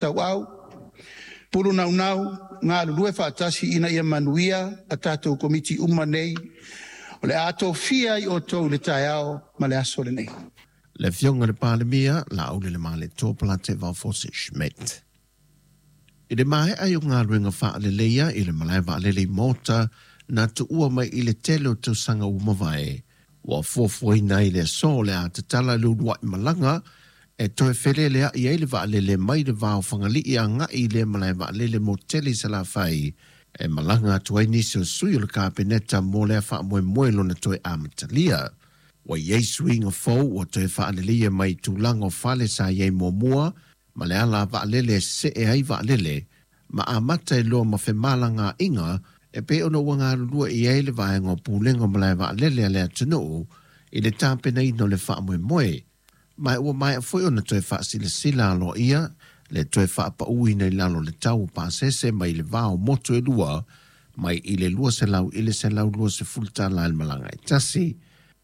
Tauau, pulu naunau, galulue faatasi ina ia manuia a tatou Komiti uma nei o le a tofia i outou i le taeao ma le aso lenei. Le Afioga i le Palemia, Laaulialemalietoa Polataivao Fosi Schmidt. I le maea ai o galuega faaleleia i le malae vaalele i Malta na tuua mai i le tele o tausaga ua mavae, ua fuafuaina ai le aso o le a tatala le uluai malaga e toe feleleai ai le vaalele mai le va o Fagalii agai i lea malae vaalele motele i Salafai e malaga atu ai nisi o sui o le Kapeneta mo lea faamoemoe lona toe amatalia. Ua i ai suiga fou ua toe faaleleia mai tulaga o fale sa i ai muamua ma le ala vaalele e see ai vaalele ma amata ai loa ma femalagaaiga e pei ona ua galulue i ai le vaega o Pulega o Malae Vaalele a le atunuu i le tapenaina o le faamoemoe. Ma ua maea foi ona toe faasilasila aloaia le toe faapauina i lalo o le tau o pasese mai le va o motu e lua mai i le 200 i le 120 tala i le malaga e tasi,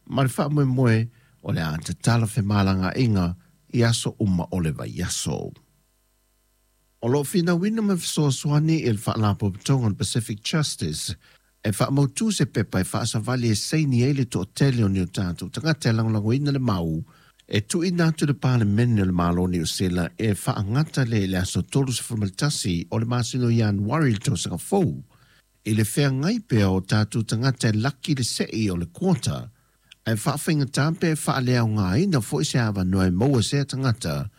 ma le faamoemoe o le a tatala femalagaaiga i aso uma o le vaiaso. O lo o finauina ma fesoasoani i le Faalapotopotoga o le Pacific Justice e faamautu se pepa e faasavali e saini ai le toatele o ni o tatou tagata e lagolagoina le mau e tuuina atu i le Palemene o le Malo o Niu Sila e faagata lea i le aso 31 o le masina o Ianuari i le tausaga fou i le feagai pea o tatou tagata e laki le sei o le quota ae faafaigata pe faaleaogaina foi se avanoa e maua sea tagata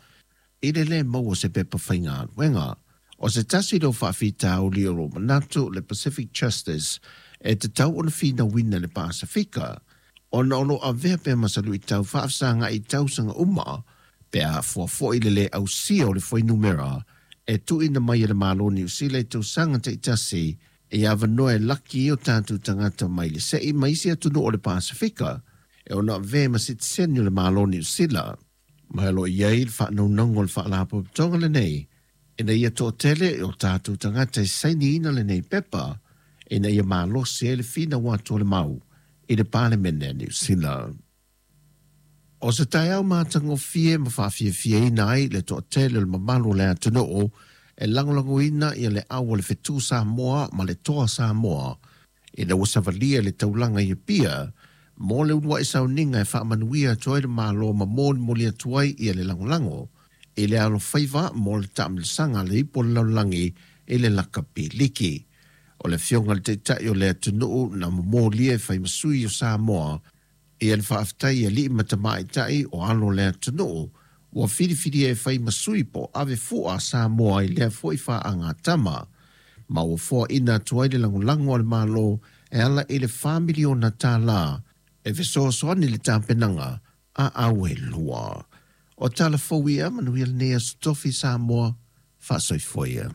i le lē maua se pepa faigaluega. O se tasi lea o faafitauli o lo o manatu le Pacific Justice e tatau ona finauina le Pasefika, ona o lo o avea pea ma se luitau faafesagai i tausaga uma pe a fuafua i le lē ausia o le fuainumera e tuuina mai e le Malo o Niu Sila i tausaga taitasi i avanoa e laki ai o tatou tagata mai le sei ma isi atunuu o le Pasefika e ono avea ma sitiseni o le Malo o Niu Sila. Ma o lo o i ai le faanaunauga o le Faalapotopotoga lenei ina ia toatele o tatou tagata e sainiina lenei pepa ina ia malosi ai le finau atu o le mau i le Palemene a Niu Sila. O se taeao matagofie ma faafiafiaina ai le toatele o le mamalu o le atunuu e lagolagoina ia le au a le Fetu Samoa ma le Toa Samoa ina ua savalia le taulaga i Apia mo le uluai sauniga e faamanuia atu ai le Malo ma molimoli atu ai ia le lagolago i le alofaiva mo le taamilosaga a le Ipu o le Lalolagi i le Lakapi Liki. O le Afioga i le Taitai o le atunuu na momolia e fai ma sui o Samoa ia le faafetai i alii ma tamaitai o alo o le atunuu ua filifilia e fai ma sui po o ave fua a Samoa i lea foi faagatama, ma ua foaina atu ai le lagolago a le Malo e ala i le $4 miliona e fesoasoani i le tapenaga a au e lua. O tala fou ia, manuia lenei Aso Tofi Samoa, faasoifua ia.